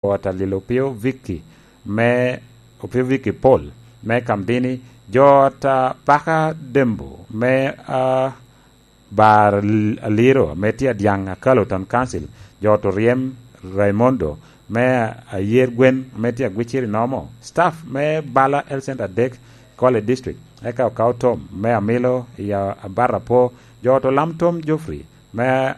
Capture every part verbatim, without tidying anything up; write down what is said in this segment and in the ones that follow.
ot a Lil Opio Vicky me Opio Vicky Paul me Kamdini, jo ot a Paka Dembo me, ah, Bar Aliro ame tye Adyaŋ Akalo Town Council, jo ot Oryem Raimondo me Ayer Gwen ame tye Agwiciri Nomo, staff me Bala Health Center adek, College District, eka Okaw Tom me Amilo i Abar Apo, jo ot Olam Tom Geoffrey me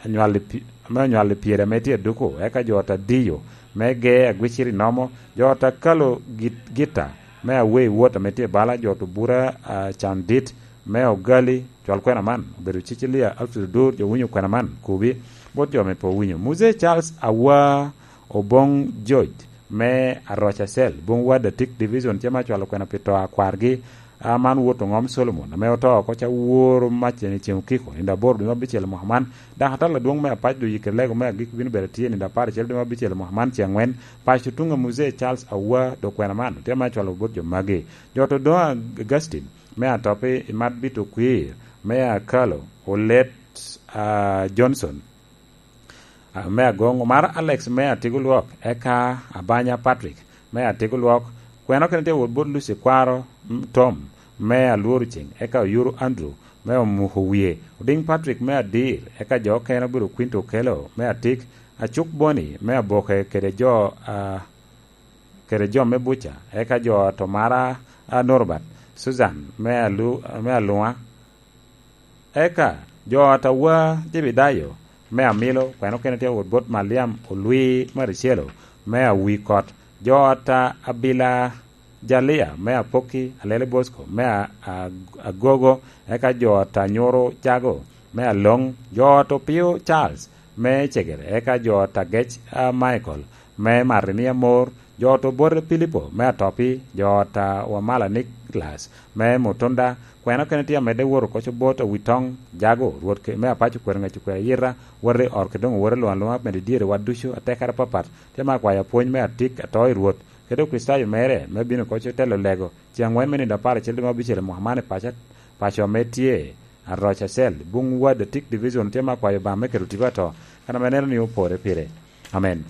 anywal i pi-, me anywal i pyere ame tye Aduku, eka jo ot Adiyo me Gee Agwiciri Nomo, jo ot Akalo Git-, Gita me Awei Wot ame tye Bala, jo ot Obura, ah, Candit me Ogali, cwal kwena man obedo Cecilia Alfred Odur, jo winyo kwena man kubi, bot jo ame pe owinyo. Muzee Charles Awa Obong George me Aroca Cell, Bung Ward Atik Division, tye ma cwalo kwena pi to a kwargi, a man wot oŋom Solomon, ame oto oko ca woro mac i ceŋ okiko, nino aboro dwe me abicel mwaka man. Dakatal adwoŋ me apac doŋ oyikke lego me agik bino bedo tye nino apar acel dwe me abicel mwaka man, ce aŋwen. Paco tuŋ a Muzee Charles Awa dokwena man, tye ma cwalo bot jo magi. Jo ot Odoŋo Augustine me Atopi, Imat Bito Kwir me Akalo, Olet, ah, Johnson, ah, me Agoŋ, Omar Alex me Atigo Lwok, eka Abanya Patrick me Atigo Lwok, kwena okene tye wot bot Lucy Kwaro, mm, Tom me Alworo Ceng, eka Oyuru Andrew me Omuko Wie, Odiŋ Patrick me Adir, eka jo okene obedo Quinto Okelo me Atik, Acuk Boni me Aboke kede jo, ah, kede jo me Buca, eka jo ot Omara, ah, Norbert, Susan me Alu-, me Aluŋa, eka jo ot Awa Jebedayo me Amilo, kwena okene tye wot bot Maliam Olwi Maricelo me Awikot, jo ot Abila Jalia me Apokki, Alele Bosco me A-, A-, Agogo, eka jo ot Anyuro Jago me Aloŋ, jo ot Opio Charles me Cegere, eka jo ot Agec, ah, Michael me Marimia Mor, jo ot Obote Pilipo me Atopi, jo ot, ah, Wamala Nicholas me Mutunda, kwena okene tye amedde wot oko bot Awitoŋ Jago, Rwot ke-, me Apaco kwero ŋec okwero ayita, wot i ot Kidoŋo, wot i Luŋ Aluŋa, medo dyere wa ducu, atekere apapat, tye ma akwayo apwony me atik ato i Rwot, kede Okricitayo mere, me bino oko telo lego, ce aŋwen me nino apar acel dwe me abicel i mwaka man i paco, paco ame tye Aroca Cell, Bung Ward Atik Division, tye ma akwayo Obaŋa me keto tipo ato, kan ame neno ni opore pire. Amen.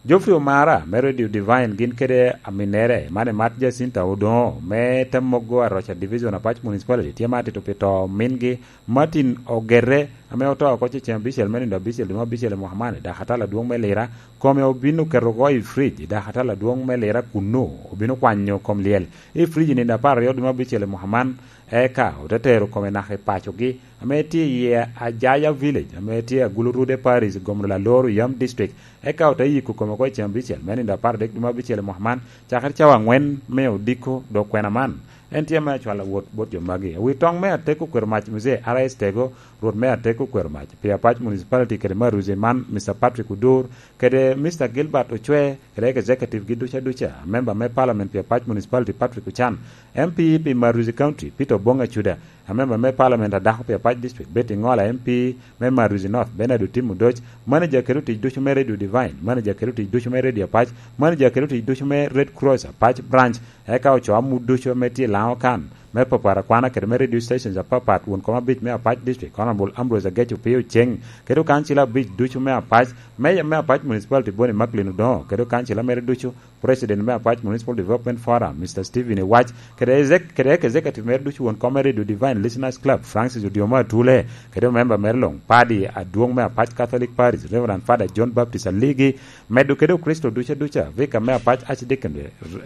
Geoffrey Omara me Radio Divine gin kede aminnere, man i Mat Jacinta Odoŋo me Temmogo Aroca Division Apac Municipality, tye ma atito pi to mingi Martin Ogere, ame oto oko cecen abicel me nino abicel dwe me abicel i mwaka man i dakatal adwoŋ me Lira, kome obin oketo oko i frij i dakatal adwoŋ me Lira kunnu, obin okwanyo kom lyel i frij i nino apar aryo dwe me abicel i mwaka man, eka ote tero kome naka i pacogi, ame tye i Ajaya Village, ame tye Agulu Rude Parish, Gomno Lalor, Yam District, eka ote yiko kome oko i cen abicel me nino apar adek dwe me abicel i mwaka man, cakere cawa aŋwen me odiko dok kwena man. En tye ame acwalo wot bot jo magi. Awi toŋ me Ateko kwero mac Muzee R S Tego, Rwot me Ateko kwero mac pi Apac Municipality kede Maruzi man, Mister Patrick Odur, kede Mister Gilbert Ocwe, kede executive gi duca duca, member me Parliament pi Apac Municipality Patrick Ochan, M P pi Maruzi County, Peter Obong Acuda, a member me Parliament a dako pi Apac District, Betty Ngola, M P me Maruzi North, Bernard Otim Odoc, manager kede otic ducu me Radio Divine, manager kede otic ducu me Radio Apac, manager kede otic ducu me Red Cross Apac Branch, eka ocoo amut ducu ame tye i Laŋo kan, me papara kwana kede me radio stations apapat, won kom abic me Apac District, Honorable Ambrose Agec Opio Ceng, kede okancila abic ducu me Apac, Mayor me Apac Municipality Bonnie Macklin Odoŋo, kede okancila mere ducu, President me Apac Municipal Development Forum, Mister Stephen Iwac, kede exec-, kede executive mere ducu, won kom me Radio Divine Listeners Club, Francis Odiomo Atule, kede member mere luŋ, padi adwoŋ me Apac Catholic Parish, Reverend Father John Baptist Aligi, medo kede Okristo duca duca, Vicar me Apac Archdeacon,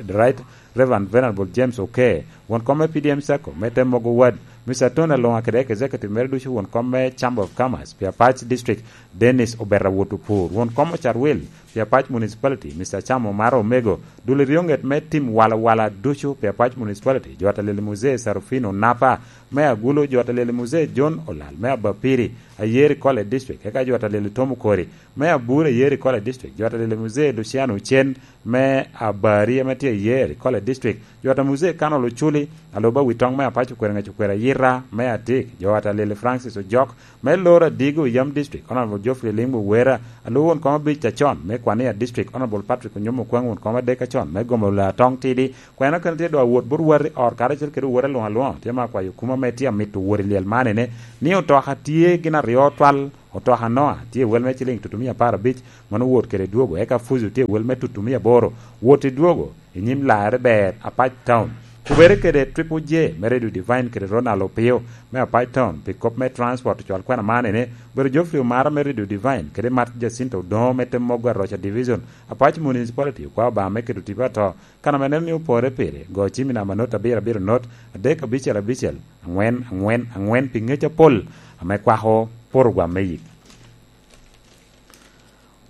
the Right Reverend Venerable James Oke, won kom me P D M Sacco, me Temmogo Ward, Mister Tony Alonga kede executive mere ducu, won kom me Chamber of Commerce, pi Apac District, Dennis Obeta Wot Opur, won kom Ocarwil, pi Apac Municipality, Mister Chamo Mara Omego, dul i ryoŋet me tim walawala ducu pi Apac Municipality, jo atalel Muzee Sarufino Napa, me Agulo, jo atalel Muzee John Olal, me Abapiri, Ayeri College District, eka jo atalel Tom Okori, me Aburi, Ayeri College District, jo atalel Muzee Luciano Ocen, me Abari, ame tye Ayeri College District, jo ata Muzee Kanol Oculi, aloba wi toŋ me Apac Okwero Ŋec Okwero Ayira, Ra me adik, jo Atalili Francis Ojok, me Loro Adigo, Yam District, Honorable Geoffrey Ling Muwera, a lwor won kom abic acon me Kwania District, Honorable Patrick Onyumo Okwaŋ, won kom adek acon me Gomolo Atong Tidi. Kwena kene tye dok awot bot wati or karacel kede woti alwoŋ alwoŋ, tye ma akwayo kuma me tye amito wot i lyel man ene, ni otoka tye gin aryo twal, otoka Noa tye wel me ciliŋ tutumia apar abic, mano wot kede dwogo, eka Fuzu tye wel me tutumia aboro, wot i dwogo, i nyim larre ber Apac Town. Kubere kede Triple J me Radio Divine kede Ronald Opio me Apac Town pi kop me transport ocwal kwena man ene, obedo Geoffrey Omara me Radio Divine kede Mat Jacinto Odoŋo me Temmogo Aroca Division, Apac Municipality okwao Obaŋa me keto tipo ato, kan ame neno ni opore pire, go cim i namba not abiro abiro not, adek abicel abicel, aŋwen aŋwen aŋwen pi ŋec apol ame kwako porogwam me yik.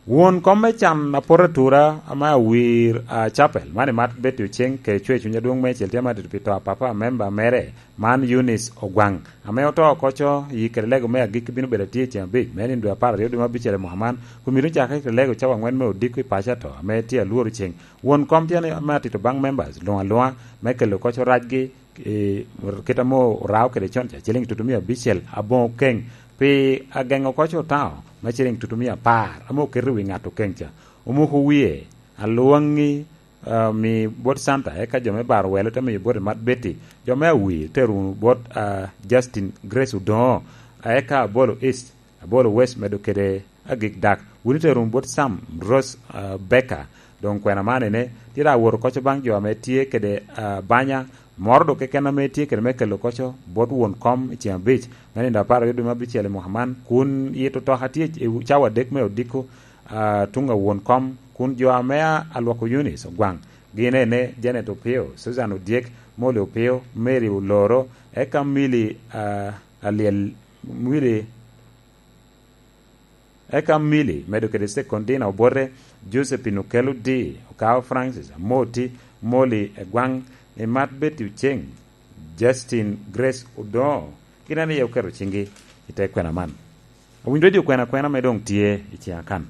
Won kom me can apot atura ame awir a Chapel, man i mat Betty Oceng, kede cwer cuny adwoŋ meicel tye ma tito pi to a papa a memba mere, man Eunice Ogwaŋ, ame oto oko co, yi kede lego me agikki bino bedo atye i ceng abic, me nino dwe apar aryo dwe me abicel i mwaka man, kun myero ocak kede lego cawa aŋwen me odiko i paco ato, ame tye alworo ceng. Won kom tye ni ame atito baŋ members luŋ aluŋa me kelo oko co racgi, eh, kit ame orao kede con ca, ciliŋ tutumia abicel aboŋo keŋ, pi ageŋo oko co taŋo me ciliŋ tutumia apar ame oketo i wi ŋat okeŋ ca. Omoko wie, alwaŋi, ah, mi bot Santa, eka jo me baro welo te miyo bot i mat Betty, jo me awir te rumo bot, ah, Justin Grace Odoŋo, eka Abolo East, Abolo West medo kede agik dak, wun ite rumo bot Sam Rose, ah, Becker, doŋ kwena man ene, tye daŋ awoto oko co baŋ jo ame tye kede, ah, banya, moro doŋ keken ame tye kede me kelo oko co bot won kom i ceng abic, me nino apar aryo dwe me abicel i mwaka man, kun yito otoka tye i cawa adek me odiko, ah, tuŋ a won kom, kun jo ame a-, alwoko Eunice Ogwaŋ, gin ene Janet Opio, Susan Odyek, Molly Opio, Mary Oloro, eka Milly, ah, Alyel, Milly, eka Milly, medo kede Sekondina Obote, Josephine Okello D, Okawo Francis Amoti, Molly Egwaŋ, Imat Betty Oceng, Justin Grace Odoŋo, gin ene iye oketo ciŋgi i te kwena man. Awinyo redio kwena kwena ame doŋ tye i ciŋa kan.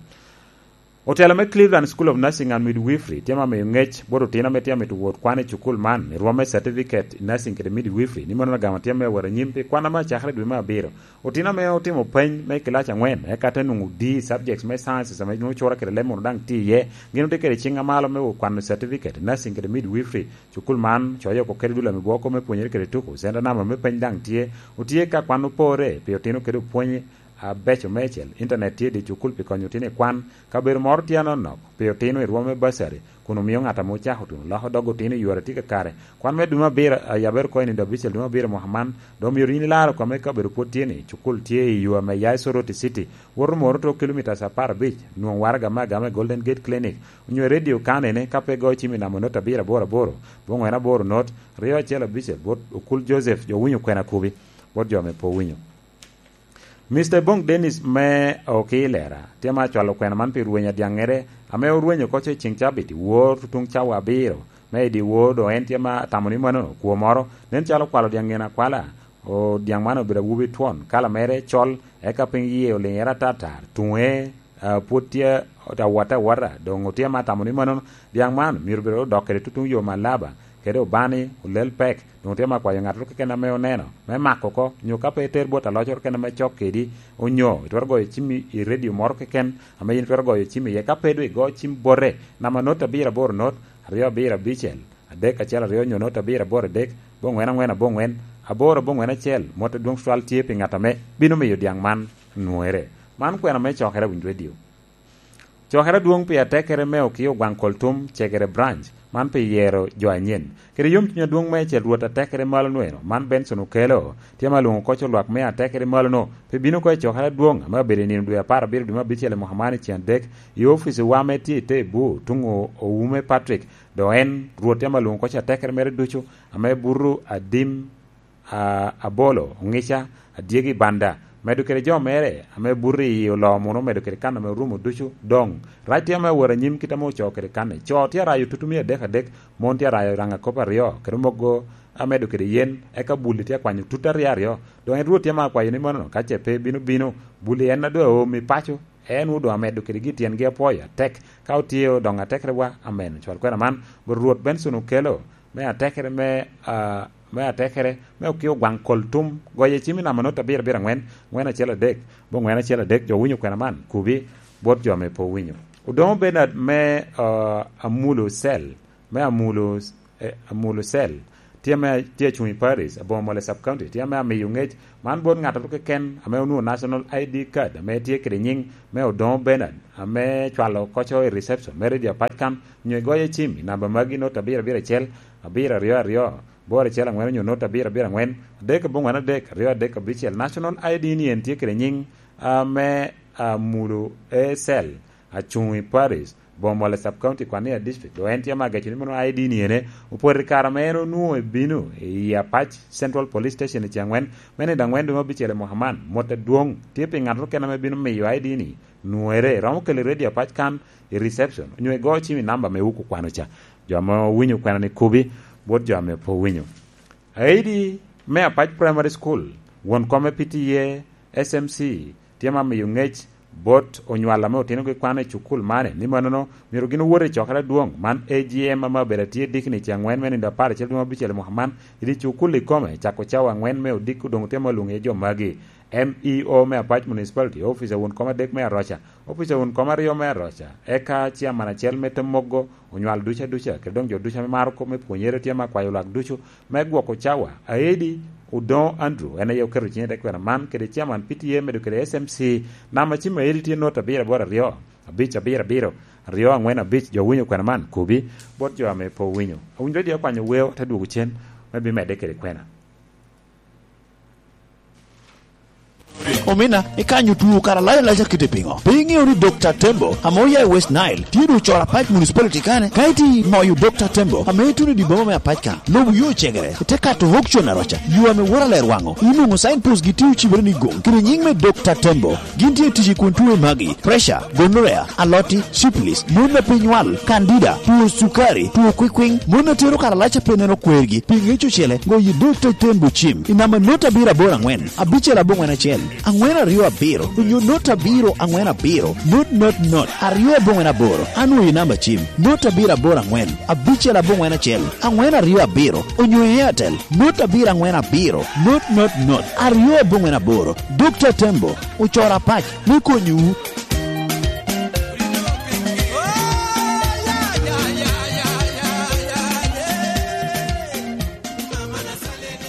Otelo me Cleveland School of Nursing and Midwifery tye ma miyo ŋec bot otino ame tye amito wot kwan i cukul man i rwom me certificate i nursing kede midwifery, ni mano agamo tye me wot anyim pi kwan ame acakere i dwe me abiro. Otino ame otimo peny me kilac aŋwen, eka te nwoŋo D subjects me sciences ame nwoŋo cura kede leb munu daŋ tye iye, gin otye kede ciŋ amalo me wot kwano certificate i nursing kede midwifery. Cukul man coyo oko kede dul ame bwoko me pwonyere kede tuko, center number me peny daŋ tye, otye ka kwan opore pi otino kede opwony abeco meicel. Intanet tye i dye cukul pi konyo otino i kwan. Kabedo moro tye anonok pi otino i rwom me bursary, kun omio ŋat ame ocako tuno loko dog otino i yore tye kakare. Kwan me dwe me abiro, a yabere oko i nino abicel dwe me abiro mwaka man, dok myero yin ilaro kome ka obedo pwod tye ni cukul tye i yo ame ya i Soroti City, woto moro to kilomitas apar abic, nwoŋo waraga me agama i Golden Gate Clinic, onyo i radio kanene ka pe igoyo cim i namba not abiro aboro aboro, bongwen aboro not, ryo acel abicel, bot okul Joseph, jo winyo kwena kubi, bot jo ame pe owinyo. Mister Bong Dennis me Okilera tye ma acwalo kwena man pi rweny adyaŋŋere ame orwenyo oko co i ceŋ cabit i wor tutuŋ cawa abiro me i dyewor, doŋ en tye ma atamo ni mano kwo moro nen calo okwalo dyaŋŋen akwala, o, dyaŋ man obedo awobi twon, kala mere col, eka piny yie oliŋere atatar, tuŋe, ah, pwod tye awotte awota, doŋ otye ma atamo ni mano dyaŋ man myero bed odok kede tutuŋ yo Malaba, kede Obani, Olel Pek, doŋ tye ma akwayo ŋattoro keken ame oneno, me mako oko, nyo ka pe iter bot alocoro keken ame cok kedi, onyo itwero goyo cim i, i redio moro keken ame yin itwero goyo cim iye. Ka pe doŋ igo cim bote, namba not abiro aboro not, aryo abiro abicel, adek acel aryo, nyo not abiro aboro adek, bongwen angwen abongwen, aboro abongwen acel, mot adwoŋ tutwal tye pi ŋat ame bino miyo dyaŋ man nwoŋere. Man kwena me cokere a Winy Radio. Cokere adwoŋ pi atekere me Okio Gwaŋ Koltum, Cegere Branch, man pi yero jo anyen. Kede yomcuny adwoŋ meicel Rwot atekere malo nweno, man Benson Okelo, tye ma lwoŋo koc olwak me atekere malo-nu, pi bino oko i cokere adwoŋ ame obedo i nino dwe apar abiro dwe me abicel i mwaka man i ceng adek, i ofici wa ame tye i te bur, tuŋ o-, Owume Patrick, dok en, Rwot tye ma lwoŋo koc atekere mere ducu, ame buto adim, a, abolo, oŋica, adyegi banda, medo kede jo mere ame buto i oloo muno, medo kede kan ame orumo ducu. Doŋ, rac tye ame awot anyim kit ame ocoo kede kan-ni. Co tye arayo tutumia adek adek, mon tye arayo raŋa kop aryo, kede mogo amedo kede yen, eka bulli tye akwanyo tut aryo aryo. Doŋ en Rwot tye ame akwayo ni mano, ka ce pe bino bino, bulli en a doŋ aomi paco, en wun doŋ amedo kedegi tyengi apwoyo atek, ka otye odoŋo atekere wa. Amen. Cwal kwena man, bot Rwot Benson Okelo, me atekere me, a, me atekere, me okio gwaŋ kol tum, goyo cim i namba not abiro abiro angwen, angwen acel adek, bo angwen acel adek, jo winyo kwena man, kubi, bot jo ame pe owinyo. Odoŋo Bernard me, ah, Amulo Cell, me Amulo, eh, Amulo Cell, tye ame, tye acuŋ i Paris, Abomole Sub County, tye ame amiyo ŋec man bot ŋat atu keken ame onwoŋo National I D card, ame tye kede nyiŋ me Odoŋo Bernard, ame cwalo koco i reception me Radio Apac kan, nyo igoyo cim i namba magi not abiro abiro acel, abiro aryo aryo, boro acel angwen onyo not abiro abiro angwen, adek abongwen adek, aryo adek abicel. National I D ni en tye kede nyiŋ, ah, me, ah, Amulo A Cell, acuŋ i Paris, Bomole Sub County, Kwania District. Dok en tye ma ageco ni mono I D ni ene, opoto i kare ame en onwoŋo ebino i Apac Central Police Station i ceng angwen, me nino angwen dwe me abicel i mwaka man. Mot adwoŋ tye pi ŋat okene ame bino miyo I D ni, nwere, romo kelo i Radio Apac kan i reception, onyo igo cim i namba me wuku kwano ca. Jo ame owinyo kwena ni kubi, bot jo ame pe owinyo. Aidi me Apac Primary School, won kome P T A, S M C, tye ma miyo ŋec bot onywal ame otinogi kwano i cukul mane, ni mannono myero gin owot i cokere adwoŋ man, A G M, ame obedo atye dikni i ceng angwen me nino apar acel dwe me abicel i mwaka man, i dye cukul ikome, cako cawa angwen me odiko doŋ tye ma olwoŋo iye jo magi. M E O me Apac Municipality, opica won kom adek me Aroca, opica won kom aryo me Aroca, eka ciaman acel me Temoggo, onywal duca duca, kede doŋ jo duca ame maro kop me pwonyere tye ame akwayo lwak ducu me gwoko cawa. Aedi Odoŋo Andrew, en aye oketo cinye i te kwena man, kede ciaman P T A medo kede S M C, namba cim aedi tye not abiro aboro aryo, abic abiro abiro, aryo angwen abic, jo winyo kwena man, kobi, bot jo ame pe owinyo. Awinyo dye akwanyo weo, te dwogo cen, me bimedde kede kwena. Omina, ikanyo tuo kara lac alac akite piŋo? Pe iŋeo ni Dokta Tembo, ame oya i West Nile, tye doŋ ocoro Apac Municipality kane? Ka iti moyo Dokta Tembo, ame ituno i dye boma me Apac ka, lubo yo cegere, ite kato Hokcon Aroca, yo ame woto aler waŋo, inwoŋo signpost gi tye ocibere ni goŋ, kede nyiŋ me Dokta Tembo. Gin tye tic i kun tuo magi, pressure, gonorrhea, aloti, syphilis, mon a pe nywal, candida, tuo cukari, tuo kwikwiŋ, mon a tero karalac a pe neno kwergi, pi ŋec ocele, goyo Dokta Tembo cim, i namba not abiro aboro angwen, abicel abongwen acel, angwen aryo abiro, onyo not abiro angwen abiro, not not not, aryo abongwen aboro, anwoyo i namba cim, not abiro aboro angwen, abicel abongwen acel, angwen aryo abiro, onyo i Airtel, not abiro angwen abiro, not not not, aryo abongwen aboro. Dokta Tembo, ocoro Apac me konyowu.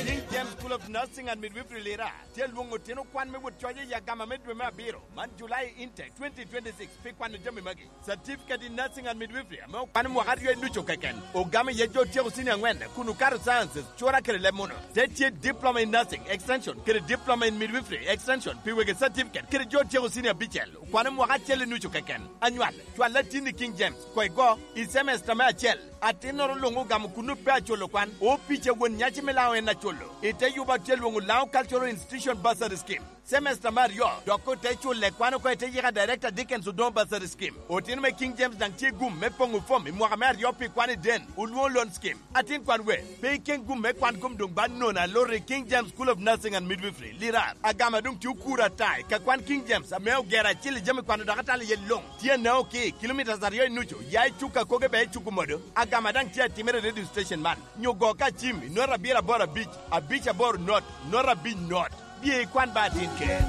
King James School of Nursing and Midwifery Lira tye lwoŋo otino kwan me wot coc i agama me dwe me abiro, man July intake twenty twenty-six, pi kwano jami magi. Certificate in Nursing and Midwifery ame okwano mwaka aryo i ducu keken. Ogamo iye jo otyeko senior angwen kun okato sciences, cura kede leb munu. Te tye Diploma in Nursing Extension kede Diploma in Midwifery Extension pi wegi certificate kede jo otyeko senior abicel, okwano mwaka acel i nucu keken. Anywal, cwal latin i King James, koŋ igo i semester me acel. Atinnoro luŋ ogamo kun pe aculo kwan, opic a won nyaci me Laŋo en aculo. I te yuba tye lwoŋo Laŋo Cultural Institution Bursary Scheme. Semester me aryo, dok ote culle kwan oko i te yika Director Dickens Odoŋo Bursary Scheme. Otino me King James daŋ tye gum me poŋo fom i mwaka me aryo pi kwan i den, olwoŋo loan scheme. Atin kwan we, pe ikeŋ gum me kwan kom doŋ ba nono aloro i King James School of Nursing and Midwifery, Lirar. Agama doŋ tye okuro ata i ka kwan King James ame ogero acil i jami kwano dok atalo iye luŋ. Tye Naoki, kilometres aryo i nucu, ya i Cuka Koge bea i Cuku Modo. Agama daŋ tye atimere i radio station man. Nyo go ka cim i not abiro aboro abic, abic aboro not, not abic not. Bye ikwan ba atin ker.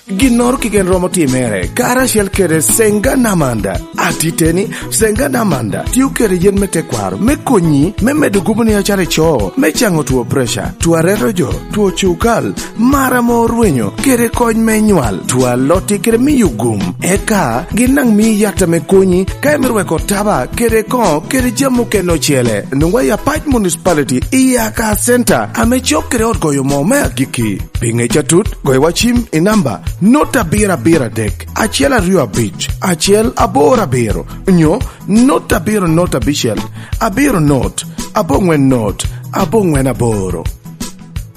Ginnoro keken romo timere karacel kede Senga Namanda. Atiteni, Senga Namanda tye okete yen me tekwaro me konyi me medo gubo ni acara ico, me caŋo two pressure, two areto jo, two cukal, mar ame orwenyo, kede kony me nywal, two aloti kede miyo gum. Eka gin daŋ mii yat ame konyi ka imito weko taba kede koŋo kede jami okene ocele. Nwoŋwa i Apac Municipality i Aka Center ame cok kede ot goyo moo me agikki. Pi ŋec atut, goyo wa cim i namba not abiro abiro adek, acel aryo abic, acel aboro abiro, nyo not abiro not abicel, abiro not, aboŋwen not, aboŋwen aboro.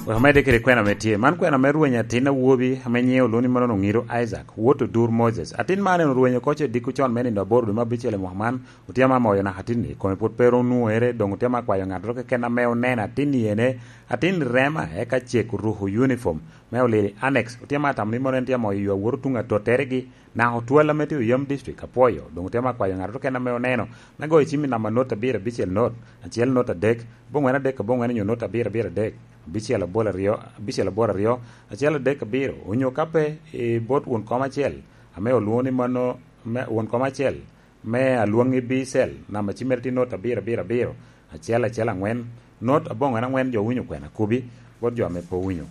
Wek omedde kede kwena ame tye. Man kwena me rweny atin awobi ame nyiŋe olwoŋo ni mano Oŋiro Isaac, wot Odur Moses. Atin man en orwenyo oko ce diko con me nino aboro dwe me abicel i mwaka man, otye ame amoyo naka atin-ni, kome pwod pe ro onwoŋere, doŋ otye ame akwayo ŋattoro keken ame oneno atin-ni ene, atin rema, eka cek oruko uniform me olili annex, otye ame atamo ni mano en tye amoyo yo awoto tuŋ atotteregi, naka otwal ame tye i Oyam District, apwoyo, doŋ otye ame akwayo ŋattoro keken ame oneno, me goyo cim i namba not abiro abicel not, acel not adek, aboŋwen adek aboŋwen onyo not abiro abiro adek, abicel abolo aryo, abicel aboro aryo, acel adek abiro, onyo ka pe i bot won kom acel, ame olwoŋo ni mano, me won kom acel, me alwoŋi B cell, namba cimmere tye not abiro abiro abiro, acel acel aŋwen, not aboŋwen aŋwen jo winyo kwena kubi, bot jo ame pe owinyo.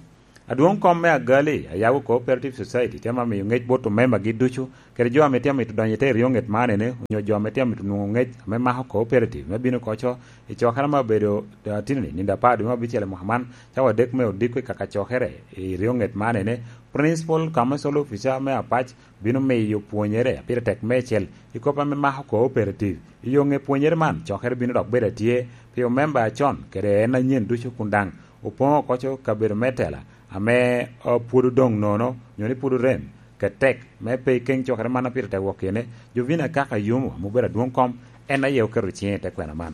Adwoŋ kom me Agali, Ayago Cooperative Society, tye ame miyo ŋec bot omembagi ducu, kede jo ame tye amito donyo i te ryoŋet man ene, onyo jo ame tye amito nwoŋo ŋec ame mako cooperative me bino koco i cokere ame obedo, eh, atinni, nino apar dwe me abicel i mwaka man, cawa adek me odiko i kaka cokere i ryoŋet man ene, Principal Commercial Officer me Apac bino miyo pwonyere a pire tek meicel i kop ame mako cooperative. I yo ŋe pwonyere man, cokere bino dok bedo atye pi omemba acon kede en anyen ducu kun daŋ opoŋo oko co kabedo me tela ame, o, pwod odoŋ nono, nyo ni pwod orem, kede tek me pe ikeŋ cokere man a pire tek wok kene. Jovina Kaka Yumo, ame obedo adwoŋ kom, en aye oketo ciŋe i te kwena man.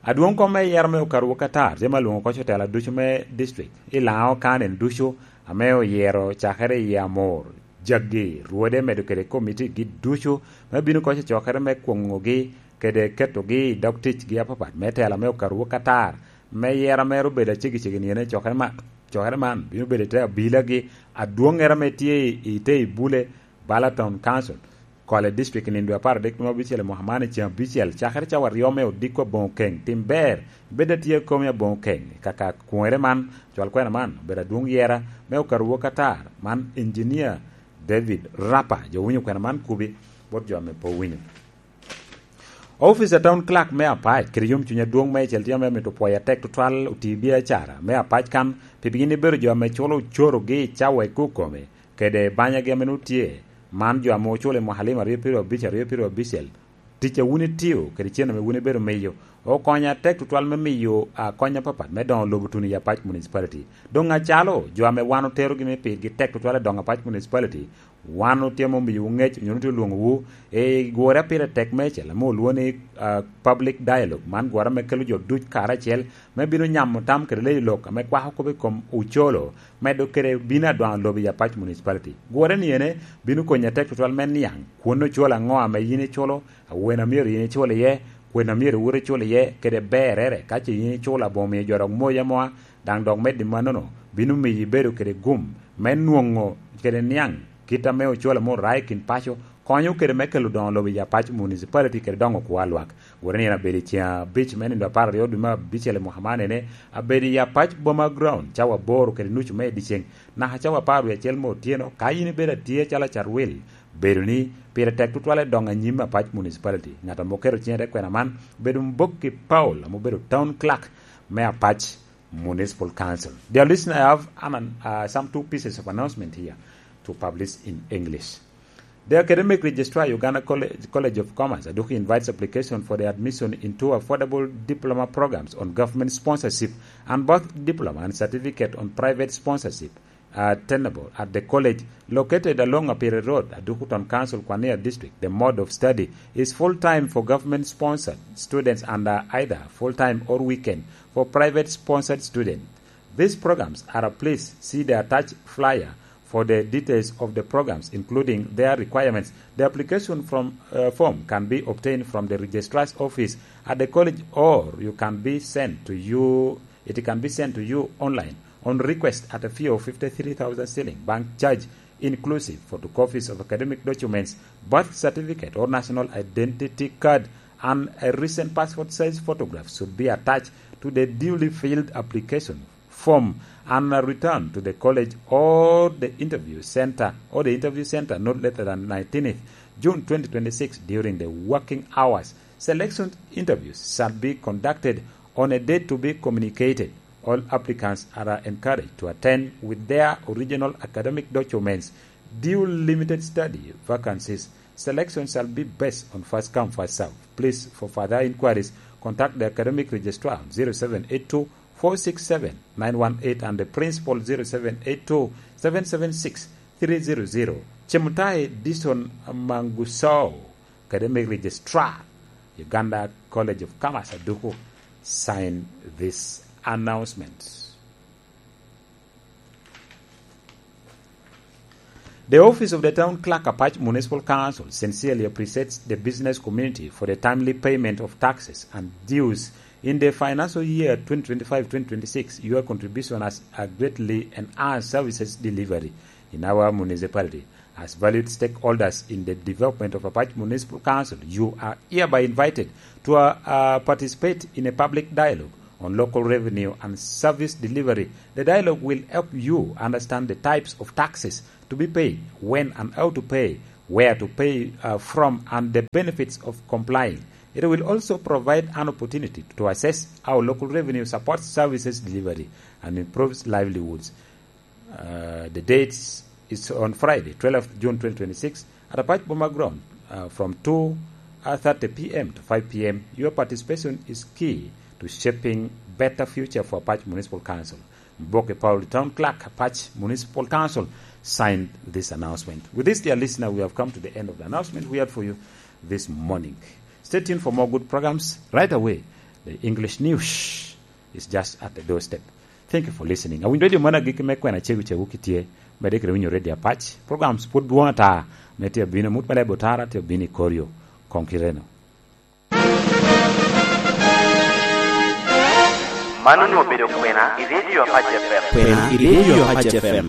Adwoŋ kom me yero me okaru wok atar, tye me alwoŋo oko cotela ducu me district, i Laŋo County ducu, ame oyero cakere i Amor, Jaggi, Rwode, medo kede komitigi ducu, me bino oko i cokere me kwoŋogi, kede ketogi i dog ticgi apapat, me tela me okaru wok atar, me yero mere obedo aceggi ceggi nino i cokere man, cokere man bino bedo i te abilagi, adwoŋŋere ame tye i, i te i bule, Bala Town Council, Kole District, i nino dwe apar adek dwe me abicel i mwaka man i ceŋ abicel, cakere cawa aryo me odiko aboŋo keŋ, tim ber, bed atye komi aboŋo keŋ, i kaka kwoŋere man, cwal kwena man, obedo adwoŋ yera me okaru wok atar, man Engineer David Rapa, jo winyo kwena man kubi, bot jo ame pe owinyo. Office a Town Clerk me Apac kede yomcuny adwoŋ meicel tye ame mito pwoyo atek tutwal oti biacara me Apac kan, pi gin ibedo jo ame culo ocorogi i cawa i kukome, kede banyagi ame nwoŋo tye. Man jo ame oculo i mwaka alima aryo pyeraryo abic, aryo pyeraryo abicel. Tic a wun itio kede cen ame wun ibedo miyo okonyo atek tutwal me miyo, a, kony apapat me doŋo lobo tuno i Apac Municipality. Doŋ acalo jo ame wan oterogi ni pirgi tek tutwal i doŋo Apac Municipality, wan otye ame omiyowu ŋec, onyo otye olwoŋowu i gure a pire tek meicel, ame olwoŋo ni, ah, public dialogue. Man gure ame kelo jo duc karacel, me bino nyamo tam kede leyo lok ame kwako kop i kom ocolo, medo kede bino adwaŋo lobo i Apac Municipality. Gure-ni ene bino konyi atek tutwal me niaŋ, kwon ocolo aŋo ame yin iculo, awene a myero yin icul iye, kwena a myero iwot icul iye, kede berrere, ka ce yin iculo aboŋo miyo jo dok moyi amoa, daŋ dok medde mannono bino miyo ibedo kede gum me nwoŋo kede niaŋ kit ame ocwalo me orai i kin paco, konyo kede me kelo doŋo lobo i Apac Municipality kede doŋo kwo a lwak. Wot ni en abedo i ceŋ abic me nino apar aryo dwe me abicel i mwaka man ene, abedo i Apac Boma Ground cawa aboro kede nucu me dyeceŋ, naka cawa apar wie acel me otyeno. Ka yin ibedo atye acalo acarwil, bedo ni pire tek tutwal i doŋo anyim Apac Municipality. Ŋat ame oketo ciŋe i te kwena man obedo Mbokki Paul, ame obedo Town Clerk me Apac Municipal Council. Dear listener, I have an, uh, some two pieces of announcement here to publish in English. The Academic Registrar, Uganda College, College of Commerce, Aduki, invites application for the admission into affordable diploma programs on government sponsorship and both diploma and certificate on private sponsorship are tenable at the college located along Apire Road, Aduku Town Council, Kwania District. The mode of study is full-time for government-sponsored students and, uh, either full-time or weekend for private-sponsored students. These programs are, uh, please see the attached flyer for the details of the programs, including their requirements. The application from, uh, form can be obtained from the registrar's office at the college, or you can be sent to you, it can be sent to you online on request at a fee of fifty-three thousand shilling, bank charge inclusive, photocopies of academic documents, birth certificate or national identity card, and a recent passport size photograph should be attached to the duly filled application form and, uh, return to the college or the interview center, or the interview center not later than nineteenth June twenty twenty-six during the working hours. Selection interviews shall be conducted on a date to be communicated. All applicants are encouraged to attend with their original academic documents. Due limited study vacancies. Selection shall be based on first come, first serve. Please, for further inquiries, contact the academic registrar on zero seven eight two four six seven nine one eight and the principal zero seven eight two seven seven six three zero zero. Chemutai Dison Manguso, academic registrar, Uganda College of Commerce, Aduku, sign this announcement. The Office of the Town Clerk, Apac Municipal Council, sincerely appreciates the business community for the timely payment of taxes and dues in the financial year twenty twenty-five twenty twenty-six. Your contribution has a greatly enhanced services delivery in our municipality. As valued stakeholders in the development of Apac Municipal Council, you are hereby invited to, uh, uh, participate in a public dialogue on local revenue and service delivery. The dialogue will help you understand the types of taxes to be paid, when and how to pay, where to pay, uh, from, and the benefits of complying. It will also provide an opportunity to assess how local revenue supports services delivery and improves livelihoods. Uh, the date is on Friday, twelfth June twenty twenty-six, at Apac Boma Ground, uh, from two thirty p m to five p m. Your participation is key to shaping better future for Apac Municipal Council. Mboke Paul, Town Clerk, Apac Municipal Council, signed this announcement. With this, dear listener, we have come to the end of the announcement we had for you this morning. Stay tuned for more good programs right away. The English news is just at the doorstep. Thank you for listening. Awinyo redio man agikki me kwena cegu cegu kitye, medde kede winyo redio Apac. Programs pwod dwoŋ ata, me tye abino mut me lebo tara, tye abino i koryo. Koŋ kireno. Man onwoŋo obedo kwena i redio Apac F M. Kwena i redio Apac F M.